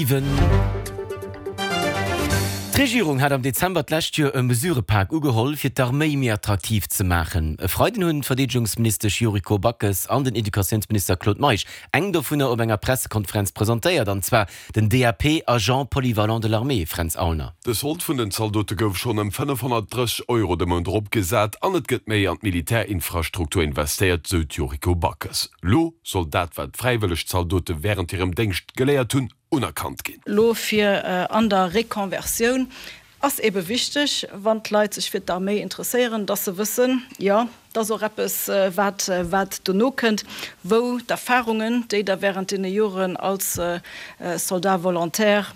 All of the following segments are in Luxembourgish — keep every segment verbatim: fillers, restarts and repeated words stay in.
Iwwen. D'Regierung hat am Dezember d'lescht Joer e Mesurëpak ugeholl, fir d'Arméi méi attraktiv ze maachen. E Freiden hunn d'Verdeedegungsministesch Yuriko Backes an den Educatiounsminister Claude Meisch eng dovunner op enger Pressekonferenz presentéiert, an zwar den D A P, Agent polyvalent de l'armée. Fränz Aulner. De Sold vun den Zaldote gouf schonn ëm fënnefhonnertdrësseg Euro de Mount eropgesat an et gëtt méi an d'Militärinfrastruktur investéiert, sou d'Yuriko Backes. Lo soll dat, wat d'fräiwëlleg Zaldote wärend hirem Déngscht geléiert hunn, unerkannt ginn. Lo fir an der Reconversioun ass ebe wichteg, wann d'Leit sech fir d'Arméi interesséieren, dass se wëssen, jo, dat ass och eppes, wat wat dono kënnt, wou d'Erfahrungen, déi der während deene Joren als Soldat volontaire,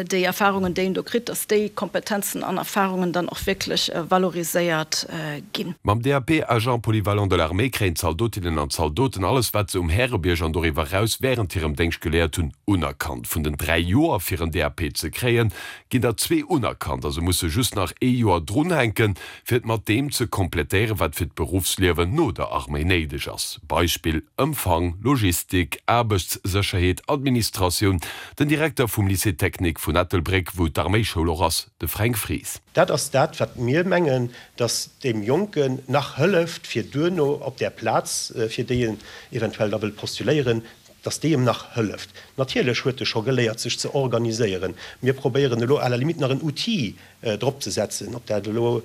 déi Erfahrungen, déi een do kritt, dass déi Kompetenzen an Erfahrungen dann och wierklech valoriséiert ginn. Mam D A P, Agent polyvalent de l'armée, kréien d'Zaldotinnen an d'Zaldoten alles, wat se um Härebierg an doriwwer eraus wärend hirem Déngscht geléiert hunn, unerkannt. Vun den dräi Joer, fir en D A P ze kréien, ginn der zwee unerkannt a se musse just nach ee Joer drunhänken, fir et mat deem ze komplettéieren, wat fir d'Beruffsliewen no der Arméi néideg ass. Beispill, Empfang, Logistik, Aarbechtssécherheet, Administratioun. Den Direkter vum Lycée technique vun Ettelbréck, wou d'Arméischoul och ass, de Fränk Fries. Dat ass dat, wat mir mengen, dass deem Jonken nach hëlleft, fir duerno op där Plaz, fir déi en eventuell da wëllt postuléieren, dass déi em nach hëlleft. Natierlech huet e scho geléiert, sech ze organiséieren. Mir probéieren elo à la limite nach en Outil drop ze setzen, ob dat elo